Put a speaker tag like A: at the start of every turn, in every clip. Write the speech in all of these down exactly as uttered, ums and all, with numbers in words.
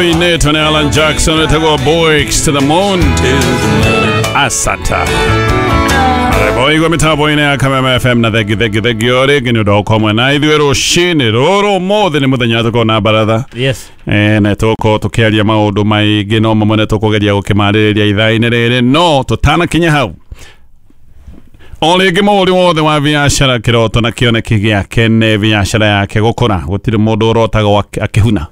A: Nate and Alan Jackson wetagwo Boys to the Moon. Asanta boigua mitambo-inĩ ya Kameme F M na thengi thengi thengi o rĩngĩ nĩ ũndũ wa gũkorwo mwena ithuĩ rũcinĩ rũrũ ũmũthĩ nĩ mũthenya tũkorwo na baratha.
B: Yes.
A: Eh, na tũgũkorwo tũkĩaria maũndũ maingĩ no mamwe nĩ tũkũgeria gũkĩmarĩrĩria ithaa-inĩ rĩrĩ no tũtanakinya hau o rĩngĩ mũhũri wothe wa biacara kĩroto na kĩoneki gĩake nĩ biacara yake gũkũra. Gũtirĩ mũndũ ũrotagwo akĩhuna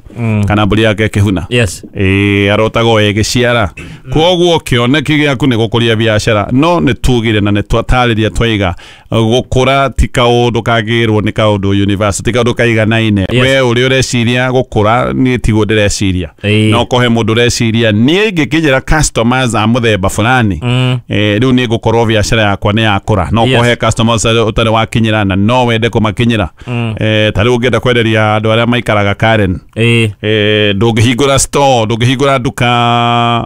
A: kana mbũri yake ĩkĩhuna.
B: Yes.
A: Ĩĩ arotagwo ĩgĩciara. Kwoguo kĩoneki gĩaku nĩ gũkũria biacara no nĩ tugire na nĩ twatarĩria twaiga gũkũra ti kaũndũ kagĩrwo nĩ kaũndũ university kaũndũ kaiganaine.
B: Yes.
A: We ũrĩa ũreciria gũkũra niĩ tiguo ndĩreciria.
B: Ĩĩ.
A: No kũhe mũndũ ũreciria niĩ ingĩkinyĩra customers a mũthemba fulani
B: Mm.
A: eh, rĩu nĩ ngũkorwo biacara yakwa nĩ yakũra. No
B: Yes.
A: kũhe customers ũtarĩ wakinyĩra na no wende kũmakinyĩra.
B: Mm.
A: Eh, ta rĩu ũngĩenda kwenderia andũ arĩa maikaraga Karen
B: Ĩĩ.
A: eh, ndũngĩhingũra store ndũngĩhingũra nduka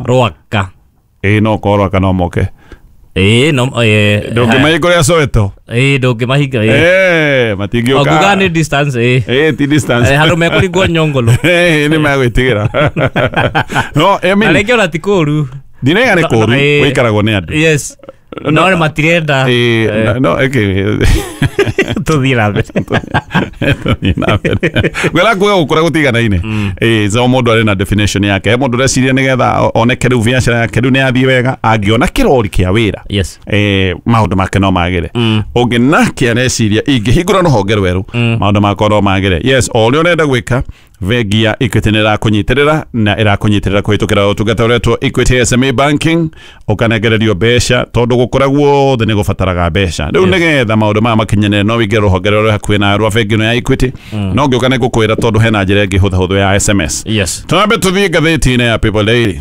B: Rwaka.
A: ĩĩ no korwo Rwaka no moke.
B: Ĩĩ no ĩĩ
A: Ndũngĩmahingũrĩra Soweto.
B: Ĩĩ ndũngĩmahinga ĩĩ.
A: Eh, matingĩũka.
B: Wanguga nĩ distance ĩĩ.
A: Ĩĩ ti distance.
B: Eh, handũ mekũringwo nyongolo.
A: Eh, nĩ megwĩtigĩra. No, I
B: Na
A: mean,
B: rĩngĩ ona ti kũũru.
A: ndinaiga nĩ kũũru
B: Ĩĩ.
A: gũikaragwo nĩ andũ.
B: Yes. No nĩ matirenda.
A: Ĩĩ,
B: Eh.
A: no ĩkĩ
B: Tũthiĩ na mbere.
A: Tũthiĩ na mbere. Ngwĩra kuga gũkũra gũtiganaine. Ĩĩ, so mũndũ arĩ na definition yake. He mũndũ ũreciria nĩgetha oneke rĩu biacara yake rĩu nĩ yathiĩ wega angĩona kĩrori kĩa wĩra.
B: Yes.
A: Eh, maũndũ make no magĩre.
B: Mm.
A: Ũngĩ nake areciria ingĩhingũra rũhonge rwerũ
B: Mm.
A: maũndũ makwa no magĩre. Yes, o ũrĩa ũrenda gwĩka bengi ya Equity nĩ ĩrakũnyitĩrĩra na ĩrakũnyitĩrĩra kũhĩtũkĩra ũtungata ũretwo Equity S M E Banking ũkanengererio mbeca tondũ gũkũra guothe nĩ gũbataraga mbeca. Rĩu
B: Yes.
A: nĩgetha maũndũ maya makinyanĩre no wĩingĩre rũhonge rũrĩa hakuhĩ na rwa bengi ĩno ya Equity no ngĩũka nĩ ngũkwĩra tondũ hena njĩra ĩngĩ hũthahũthũ ya S M S.
B: Yes.
A: Twambe tũthiĩ ngathĩti-inĩ ya People Daily.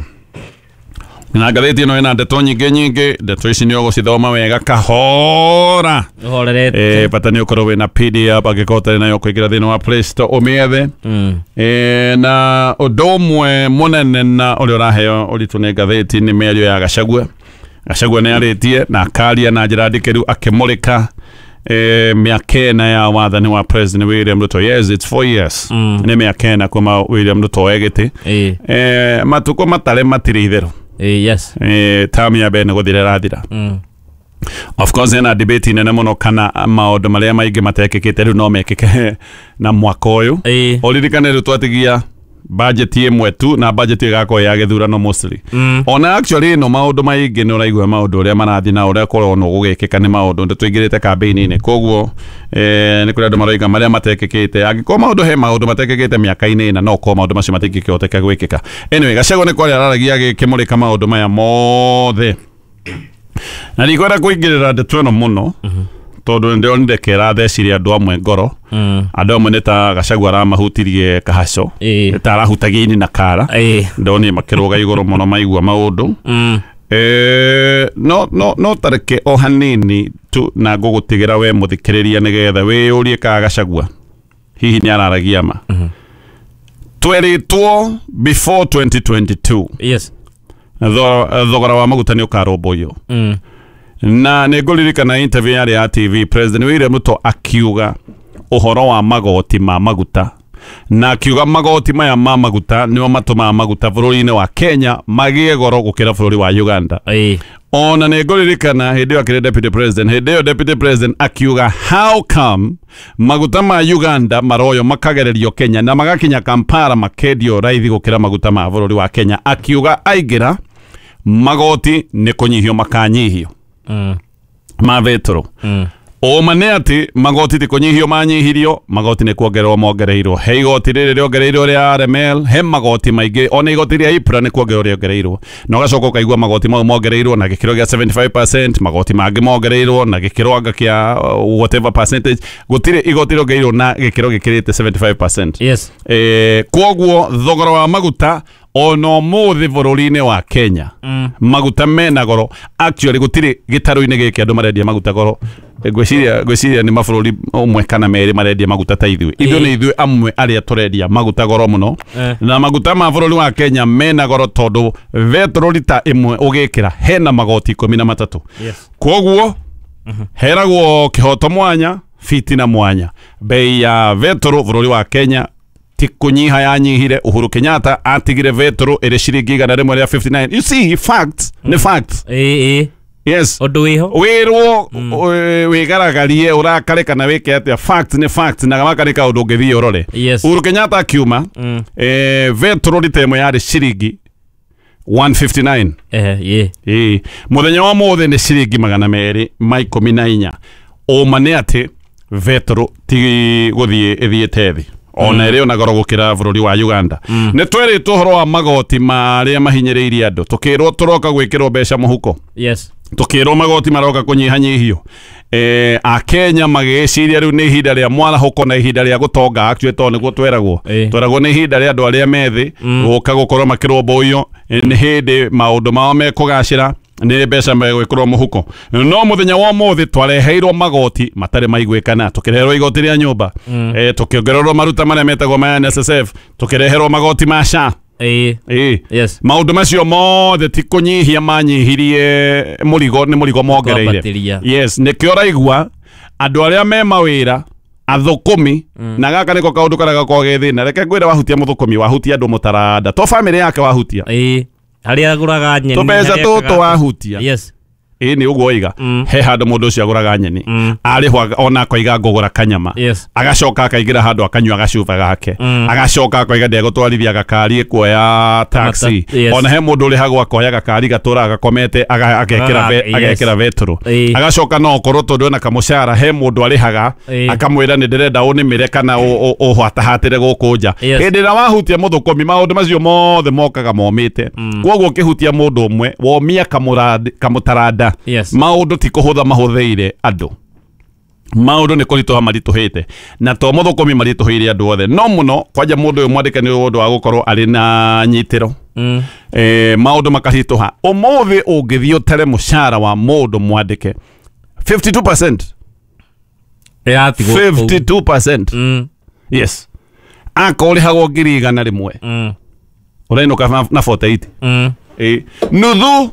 A: Na ngathĩti ĩno ĩna ndeto nyingĩ nyingĩ, ndeto ici nĩ ũgũcithoma wega kahora.
B: Ũhorerete.
A: Eh, bata nĩ ũkorwo wĩna P D F angĩkorwo ũtarĩ nayo kũingĩra thĩinĩ wa Play Store ũmĩethe.
B: Mm.
A: Eh, na ũndũ ũmwe mũnene na ũrĩa ũraheo ũritũ nĩ ngathĩti nĩ mĩario ya Gachagua. Gachagua nĩ arĩtie na akaria na njĩra ndikĩru akĩmũrĩka eh, mĩaka ĩna ya wathani wa President William Ruto. Yes, it's four years.
B: Mm.
A: Nĩ mĩaka ĩna kuma William Ruto oe gĩtĩ.
B: Ĩĩ.
A: Eh, matukũ matarĩ matirĩ itherũ.
B: Ĩĩ, yes.
A: Eh, term ya mbere nĩ gũthira ĩrathira.
B: Mm.
A: Of course hena debate nene mũno kana maũndũ marĩa maingĩ matekĩkĩte rĩu no mekĩke na mwaka ũyũ.
B: Ĩĩ.
A: Ũririkane rĩu twatigia budget ĩmwe tu na budget ĩgakorwo ya gĩthurano mostly.
B: Mm.
A: Ona actually no maũndũ maingĩ nĩ ũraigua maũndũ ũrĩa marathiĩ na ũrĩa kũronwo gũgĩkĩka nĩ maũndũ nĩ tũingĩrĩte campaign-inĩ koguo eh, nĩ kũrĩ andũ maroiga marĩa matekĩkĩte angĩkorwo maũndũ he maũndũ matekĩkĩte mĩaka-inĩ ĩna no korwo maũndũ macio matingĩkĩhoteka gwĩkĩka. Anyway, Gachagua nĩ kwaria araragia agĩkĩmũrĩka maũndũ maya mothe na ndikwenda kũingĩrĩra ndeto ĩno mũno tondũ nĩndĩronire kĩrathecirie andũ amwe ngoro.
B: Mm.
A: Andũ amwe nĩ ta Gachagua aramahutirie kahaco
B: Ĩĩ.
A: ta arahutagia ini na kara.
B: Ĩĩ.
A: Ndonire makĩrũga igũrũ mũno maigua maũndũ.
B: Mm.
A: Eh, no no no tareke o hanini tu na ngũgũtigĩra we mũthikĩrĩria nĩgetha wĩyũrie ka Gachagua hihi nĩ araragia ma. Twerĩtwo before twenty twenty-two
B: Yes.
A: thogora wa maguta nĩ ũkarũmbũiyo.
B: Mm.
A: Na nĩ ngũririkana interview yarĩ ya T V President William Ruto akiuga ũhoro wa magoti ma maguta na akiuga magoti maya ma maguta nĩmo matũmaga maguta bũrũri-inĩ wa Kenya magĩe goro gũkĩra bũrũri wa Uganda.
B: Ĩĩ.
A: Ona nĩ ngũririkana hĩndĩ ĩyo akĩrĩ deputy president, hĩndĩ ĩyo deputy president akiuga how come maguta ma Uganda maroyo makagererio Kenya na magakinya Kampala makendio raithi gũkĩra maguta ma bũrũri wa Kenya. Akiuga aingĩra magoti nĩ kũnyihio makanyihio
B: Mm.
A: ma betũrũ.
B: Mm.
A: Ũma nĩ atĩ magoti ti kũnyihio manyihirio, magoti nĩ kuongererwo mongereirwo. He igoti rĩrĩ rĩongereirwo rĩa R M L, he magoti maingĩ, ona igoti rĩa I P R A nĩ kuongererwo rĩongereirwo. Na ũgacoka ũkaigua magoti mau mongereirwo na gĩkĩro gĩa seventy-five percent, magoti mangĩ mongereirwo na gĩkĩro anga kĩa whatever percentage. Gũtirĩ igoti rĩongereirwo na gĩkĩro gĩkĩrĩte seventy-five percent.
B: Yes.
A: Eh, kwoguo thogora wa maguta ona ũmũthĩ bũrũri-inĩ wa Kenya
B: Mm.
A: maguta mena goro. Actually gũtirĩ gĩtarũ-inĩ gĩkĩ andũ marendia maguta goro. Ngwĩciria ngwĩciria nĩ mabũrũri ũmwe kana merĩ marendia maguta ta ithuĩ. Ithuĩ nĩ ithuĩ amwe arĩa tũrendia maguta goro mũno.
B: Eh.
A: Na maguta ma bũrũri wa Kenya mena goro tondũ betũrũ rita ĩmwe ũgĩkĩra hena magoti ikũmi na matatũ.
B: Yes.
A: Kwoguo heragwo kĩhoto mwanya, fitina mwanya. Bei ya betũrũ bũrũri wa Kenya ti kunyiha yanyihire. Uhuru Kenyatta atigire vetro ere ciringi igana rimwe ria fifty-nine. You see, facts mm. ni facts.
B: Eh eh
A: yes,
B: undu wiho
A: wirwo wigaragarie urakare kana wike atia, facts ni facts na gaka ni kaundu ngithii urore.
B: Yes.
A: Uhuru Kenyatta akiuma
B: mm.
A: eh vetro ritemo yari ciringi one fifty-nine.
B: Eh ye
A: eh muthenya wa mothe ni ciringi magana meri ma ikumi na inya. Uma ni ati vetro ti guthie ithiete thi ona iri ona goro gukira bururi wa Uganda.
B: Mm.
A: Ni tweritwo horo wa magoti maria mahinyiriirie andu, tukirwo turoka gwikirwo mbeca muhuko.
B: Yes,
A: tukirwo magoti maroka kunyihanyihio. Eh akenya magiciria riu ni ihinda ria mwarahuko na ihinda ria gutonga actually to niguo tweragwo
B: eh.
A: Tweragwo ni ihinda ria andu aria methi guka gukorwo makirwo ni hindi maundu mao mekugacira ni mbeca megwikirwo muhuko. No muthenya wa muthi twareheirwo magoti matari maiguikana, tukireherwo igoti ria nyumba
B: mm.
A: eh tukiongererwo maruta maria metagwo ma N S S F, tukireherwo magoti ma S H A.
B: Eh
A: eh
B: yes,
A: maundu macio mothe ti kunyiihia manyihirie murigo, ni murigo mongereire. Yes, nikio raigua andu aria me mawira athukumi
B: mm.
A: na gaka niko kaundu karia gakoragwo ge thina. Reke ngwire wahutia muthukumi, wahutia andu mutaranda to family yake wahutia
B: eh haria aguraga nyeni
A: tubeca tutu wahutia.
B: Yes,
A: ĩ nĩ ũguo oiga
B: mm.
A: he handũ mũndũ ũcio agũraga nyeni
B: mm.
A: arĩhwo ona akoiga ngũgũra kanyama.
B: Yes.
A: Agacoka akaingĩra handũ akanyua gacuba gake
B: mm.
A: agacoka akoiga ndegũtwarithia gakari kuoya taxi.
B: Yes.
A: Ona he mũndũ ũrĩhagwo akoya gakari gatũraga gakomete agekĩra
B: yes.
A: agekĩra vetro
B: e.
A: Agacoka no okorwo tondũ ena kamũcara he mũndũ arĩhaga
B: e.
A: akamwĩra nĩ ndĩrenda ũnĩmĩre kana ũhatahatĩre gũkũ nja.
B: Yes.
A: Hĩndĩ ĩrĩa wahutia mũthũkũmi maũndũ macio mothe mokaga momĩte.
B: mm.
A: Kwoguo ũkĩhutia mũndũ ũmwe womia kamũtaranda.
B: Yes.
A: Maundu ti kuhutha mahutheire andu, maundu ni kurituha marituhite na to muthukumi marituhire andu othe no muno kwanja mundu uyu mwandike ni undu wa gukorwo ari na nyitiro
B: mm.
A: eh maundu makarituha. Umuthi ungithii utere mucara wa mundu mwandike fifty-two percent
B: iratigwo
A: fifty-two percent
B: mm.
A: Yes, akorihagwo ngiri igana rimwe
B: mm.
A: urainuka na forty-eight
B: mm.
A: eh nuthu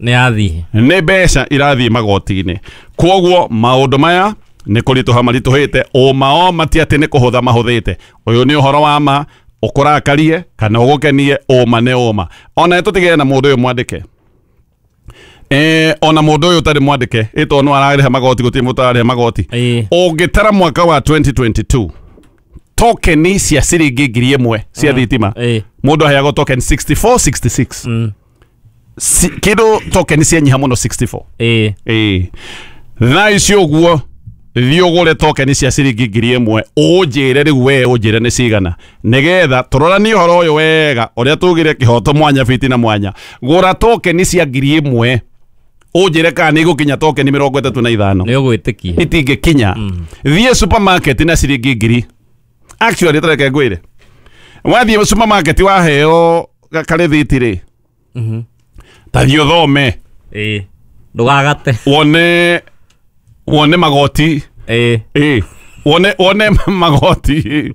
B: ni athi
A: ni mbeca irathie magoti-inĩ. Kwoguo maundu maya ni kurituha marituhite, uma o mati ati ni kuhutha mahuthite. Uyu ni uhoro wa ma ukurakarie kana ugukenie, uma ni uma. Ona tutigire na mundu uyu mwandike eh ona mundu uyu utari mwandike ito no arariha magoti guti mundu arariha magoti. Ungitara mwaka wa twenty twenty-two tokeni cia ciringi ngiri ĩmwe cia thitima mundu aheagwo token sixty-four sixty-six.
B: Mm.
A: Si, kindu token cia nyiha muno sixty-four.
B: Eh
A: eh thaa ici uguo thiĩ ũgũre token cia ciringi ngiri ĩmwe ũnjĩre rĩu we ũnjĩre nĩ cigana nĩgetha tũroranie ũhoro ũyũ wega ũrĩa tugire kĩhoto mwanya fiti na mwanya. Gũra token cia ngiri ĩmwe ũnjĩre kana nĩ igũkinya token mĩrongo ĩtatũ na ithano
B: nĩ ũgwĩtĩkia
A: itingĩkinya.
B: mm.
A: Thiĩ supermarket na ciringi ngiri actually tareke ngwĩre wathiĩ supermarket waheo karĩthiti rĩ
B: mhm
A: tathiĩ ũthome
B: eh ndugagate
A: wone wone magoti
B: eh
A: eh wone wone magoti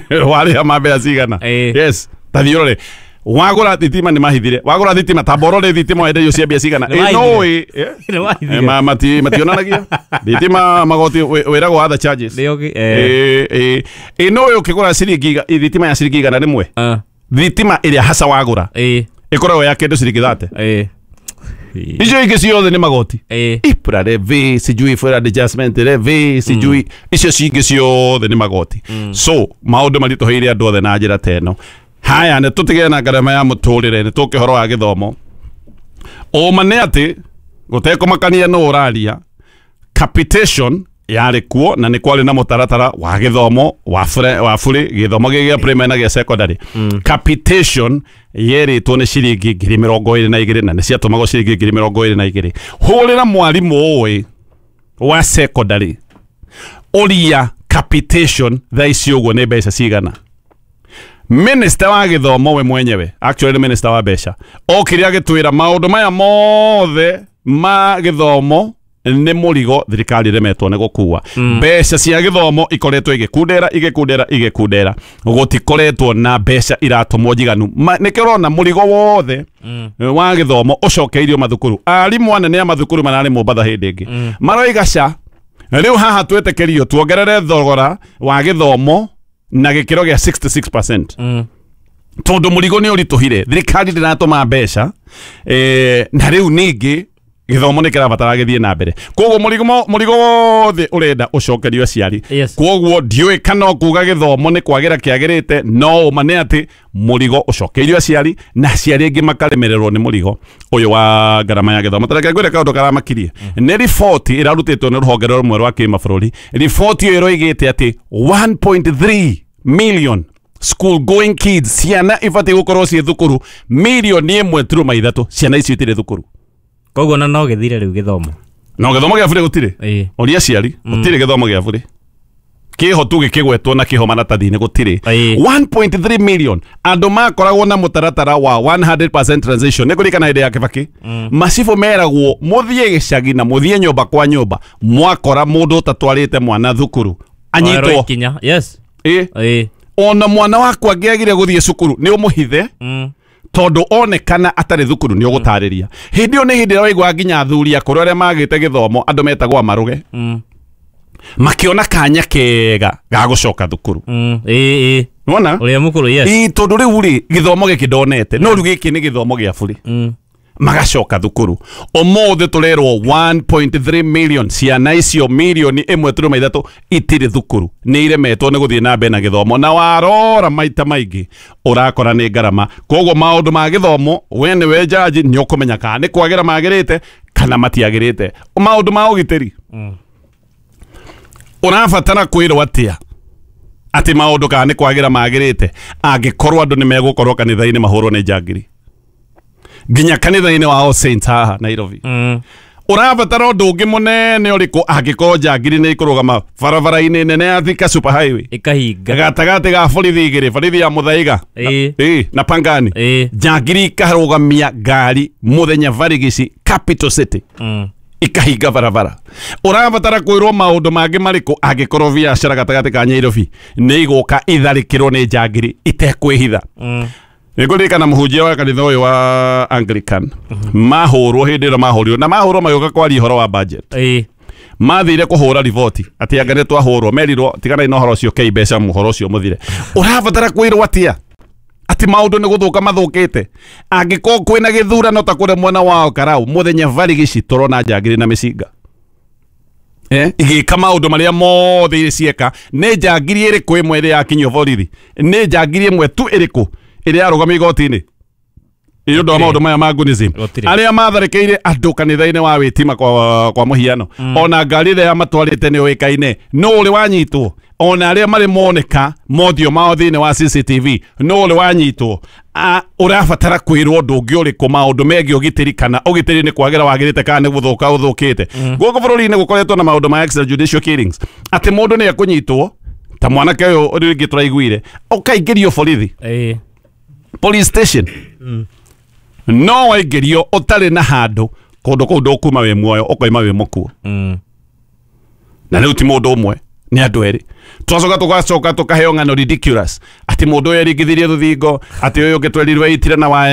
A: warĩha ma mbeca cigana.
B: Eh.
A: Yes, tathiĩ ũrore wagũra thitima nĩ mahithire, wagũra thitima ta borore thitima wenderio cia mbia cigana.
B: Nĩ
A: Eh no
B: mahithire.
A: ĩ
B: Nĩ mahithire.
A: ma mati mationanagia thitima magoti wĩragwo other charges.
B: Nĩ ũgĩ eh
A: eh eh no ũkĩgũra ciringi thitima ya ciringi igana rĩmwe
B: ah
A: thitima ĩrĩa haca wagũra
B: eh
A: ikoragwo ya kindu ciringi thate
B: eh
A: icio ingĩ ciothe nĩ magoti
B: eh
A: ipra levy sijui for adjustment levy sijui icio cingĩ ciothe nĩ magoti. So maundu maritũhĩire andũ othe na njĩra ta ĩno. Haya, nĩ tũtigane na ngarama ya mũtũrĩre, nĩ tũke ũhoro wa gĩthomo. Ũma nĩ atĩ gũtekũmakania nũ ũraria, capitation yarĩ kuo na nĩ kwarĩ na mũtaratara wa gĩthomo wa bure wa bure gĩthomo gĩa primary na gĩa secondary.
B: Mm.
A: Capitation yerĩtwo nĩ ciringi ngiri mĩrongo ĩrĩ na igĩrĩ na nĩ ciatũmagwo ciringi ngiri mĩrongo ĩrĩ na igĩrĩ. Hũrĩra mwarimũ ũĩ wa secondary ũria capitation thaa ici ũguo nĩ mbeca cigana. Minister wa gĩthomo we mwenyewe actually minister wa mbeca okire agĩtwĩra maũndũ maya mothe ma gĩthomo nĩ mũrigo thirikari ĩremetwo nĩ gũkua. Mbeca cia gĩthomo ikoretwo igĩkundera igĩkundera igĩkundera, gũtikoretwo na mbeca iratũmwo njiganu. Nĩkĩo ũrona mũrigo wothe wa gĩthomo ũcokeirio mathukuru. Arimũ anene a mathukuru mararĩ Mombatha hĩndĩ ĩngĩ maroiga ca rĩu haha twĩtĩkĩrio tuongerere thogora wa gĩthomo na gĩkĩro gĩa sixty-six percent,
B: Mm.
A: tondũ mũrigo nĩ ũritũhire, thirikari ndĩratũma mbeca, eh, na rĩu ningĩ gĩthomo nĩ kĩrabatara gĩthiĩ na mbere, koguo mũrigo mo- mũrigo wothe ũrenda ũcokerio aciari.
B: Yes.
A: Koguo ndiũĩ kana ũkuga gĩthomo nĩ kwagĩra kĩagĩrĩte, no ũma nĩ atĩ mũrigo ũcokeirio aciari, na aciari aingĩ makaremererwo nĩ mũrigo ũyũ wa ngarama ya gĩthomo. Tareke ngwĩre kaũndũ karamakirie nĩ riboti ĩrarutĩtwo nĩ rũhonge rũmwe rwa kĩmabũrũri. Riboti ĩyo ĩroigĩte atĩ one point three million school going kids, ciana ibatiĩ gũkorwo ciĩ thukuru milioni ĩmwe turuma ithatũ, ciana icio itirĩ thukuru.
B: Koguo na no gĩthire rĩu gĩthomo.
A: No gĩthomo gĩa bũrĩ gũtirĩ.
B: Ĩĩ.
A: Oria aciari, gũtirĩ gĩthomo gĩa bũrĩ kĩho tu gĩkĩgwetwo na kĩho maratathi-inĩ, gũtirĩ.
B: Ĩĩ.
A: one point three million andũ makoragwo na mũtaratara wa one hundred percent transition. Nĩ kũririkana hĩndĩ ya Kĩbakĩ, macibũ meragwo mũthiĩ gĩcagi na mũthiĩ nyũmba kwa nyũmba, mwakora mũndũ ũtatwarĩte mwana thukuru
B: Oerwo
A: anyitwo.
B: ikinya, yes.
A: Ĩ.
B: Ĩĩ.
A: Ona mwana waku angĩagire gũthiĩ cukuru, nĩ ũmũhithe,
B: Mm.
A: tondũ onekana atarĩ thukuru nĩ ũgũtarĩria. Hĩndĩ ĩyo nĩ hĩndĩ ĩrĩa waigua nginya athuri akũrũ arĩa magĩte gĩthomo, andũ metagwo amarũge,
B: Mm.
A: makĩona kanya kega ga gũcoka thukuru.
B: Mm. Ĩĩ, ĩĩ.
A: Nĩwona?
B: Ũrĩa mũkũrũ, yes.
A: Ĩ, tondũ rĩu rĩ, gĩthomo gĩkĩ ndonete, no rĩu gĩkĩ nĩ gĩthomo gĩa bũrĩ.
B: Mm.
A: Magacoka thukuru. Ũmũthĩ tũrerwo one point three million ciana icio, milioni ĩmwe turuma ithatũ, itirĩ thukuru, nĩ iremetwo nĩ gũthiĩ na mbere na gĩthomo, na warora maita maingĩ ũrakora nĩ ngarama. Koguo maũndũ ma gĩthomo, we nĩwe jaji, nĩ ũkũmenya kana nĩ kwagĩra magĩrĩte kana matiagĩrĩte. Maũndũ ma ũgitĩri,
B: Mm.
A: ũrabatara kwĩrwo atĩa atĩ maũndũ kana nĩ kwagĩra magĩrĩte angĩkorwo andũ nĩ megũkorwo kanitha-inĩ mahũrwo nĩ njangiri nginya kanitha-inĩ wa All Saints haha Nairobi?
B: Mm.
A: Ũrabatara ũndũ ũngĩ mũnene ũrĩkũ angĩkorwo njangiri nĩ ikũrũgama barabara-inĩ nene ya Thika Super Highway
B: Ĩkahinga.
A: gatagatĩ ga borithi igĩrĩ, borithi ya Muthaiga na,
B: Ĩĩ.
A: ĩĩ, na Pangani,
B: Ĩĩ.
A: njangiri ikarũgamia ngari mũthenya barigici, capital city,
B: Mm.
A: ikahinga barabara? Ũrabatara kwĩrwo maũndũ mangĩ marĩkũ angĩkorwo biacara gatagatĩ ka Nairobi nĩ igũka itharĩkĩrwo nĩ njangiri itekwĩhitha?
B: Mm.
A: Nĩngũririkana mũhunjia wa kanitha ũyũ wa Anglican mahũrwo, hĩndĩ ĩrĩa mahũrirwo na mahũrwo magĩũka kwaria ũhoro wa budget.
B: Ĩĩ.
A: Mathire kũhũra riboti atĩ anga nĩ twahũrwo, merirwo tiganai na ũhoro ũcio, kei mbeca ũhoro ũcio mũthire. Ũrabatara kwĩrwo atĩa atĩ maũndũ nĩ gũthũka mathũkĩte angĩkorwo kwĩna gĩthurano ta kũrĩa mwena wa Karau, mũthenya barigici tũrona njangiri na mĩcinga, eh igĩka maũndũ marĩa mothe cieka? Nĩ njangiri ĩrĩkũ ĩmwe ĩrĩa yakinyio borithi? Nĩ njangiri ĩmwe tu ĩrĩkũ ĩrĩa yarũgamio igoti-inĩ nĩ ũndũ wa maũndũ maya ma Gunism?
B: Gũtirĩ.
A: Arĩa matharĩkĩire andũ kanitha-inĩ wa wĩtima, kwa, kwa mũhiano, ona ngari ĩrĩa yamatwarĩte nĩ ũĩkaine, no ũrĩ wanyitwo? Ona arĩa marĩ moneka mothiũ mao thĩinĩ wa C C T V, no ũrĩ wanyitwo? A- ũrabatara kwĩrwo ũndũ ũngĩ ũrĩkũ maũndũ megiĩ ũgitĩri, kana ũgitĩri nĩ kwagĩra wagĩrĩte kana nĩ gũthũka ũthũkĩte? Gũkũ bũrũri-inĩ gũkoretwo na maũndũ ma extrajudicial killings, atĩ mũndũ nĩ ekũnyitwo ta mwanake ũyũ rĩngĩ tũraiguire, ũkaingĩrio borithi,
B: Ĩĩ.
A: police station, no waingĩrio ũtarĩ na handũ kũndũ kũu ndũkuma wĩ muoyo, ũkoima wĩ mũkuo.
B: Mm.
A: Na rĩu ti mũndũ ũmwe, nĩ andũ erĩ. Twacoka tũgacoka tũkaheo ng'ano ridiculous atĩ mũndũ ũyũ eringithirie rũthingo, atĩ ũyũ ũngĩ twerirwo eitire na waya.